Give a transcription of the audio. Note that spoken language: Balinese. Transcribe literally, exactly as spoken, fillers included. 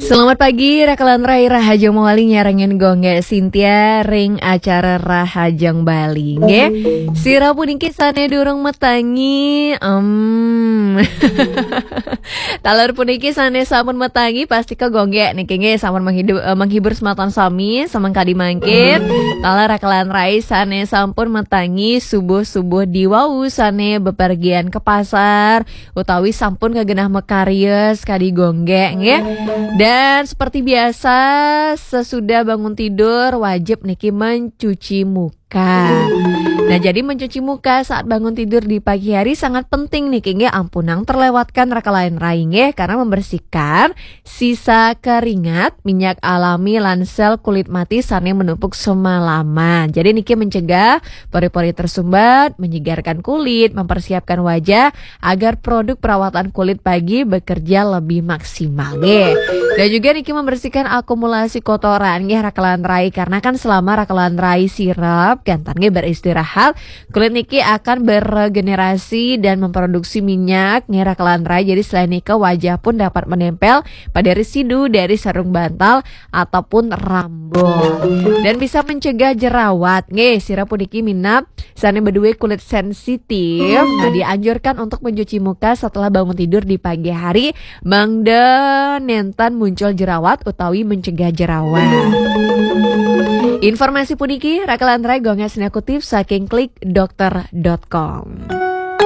Selamat pagi, Rakalan Rai. Rahajeng mawali nyarengin Gung Gek Sintia ring acara Rahajeng Bali, nggih. Sira puniki sane durung matangi, em. Taler puniki sane sampun matangi, pastika Gung Gek niki nggih sampun menghidu-, eh, menghibur semeton sami, semeng kadi mangkin. Taler Rakalan Rai sane sampun matangi subuh-subuh diwau sane bepergian ke pasar, utawi sampun kagenah makarya sekadi Gung Gek, nggih. Dan seperti biasa, sesudah bangun tidur wajib niki mencuci muka. Nah, jadi mencuci muka saat bangun tidur di pagi hari sangat penting niki, nggih, ampunang terlewatkan Rakalan Rai, nggih, karena membersihkan sisa keringat, minyak alami lan sel kulit mati sane menumpuk semalaman. Jadi niki mencegah pori-pori tersumbat, menyegarkan kulit, mempersiapkan wajah agar produk perawatan kulit pagi bekerja lebih maksimal, nggih. Dan juga niki membersihkan akumulasi kotoran, nggih, Rakalan Rai, karena kan selama Rakalan Rai sirep, ganten nggih beristirahat, kulit niki akan beregenerasi dan memproduksi minyak, nggih, Rakalan Rai. Jadi selain nika, wajah pun dapat menempel pada residu dari sarung bantal ataupun rambut. Dan bisa mencegah jerawat, nggih, sira puniki minab sane beduwe kulit sensitif. Nah, dianjurkan untuk mencuci muka setelah bangun tidur di pagi hari, mangda nenten muncul jerawat utawi mencegah jerawat. Informasi puniki Rakalan Rai Gung Gek sane kutip saking klik dokter dot com.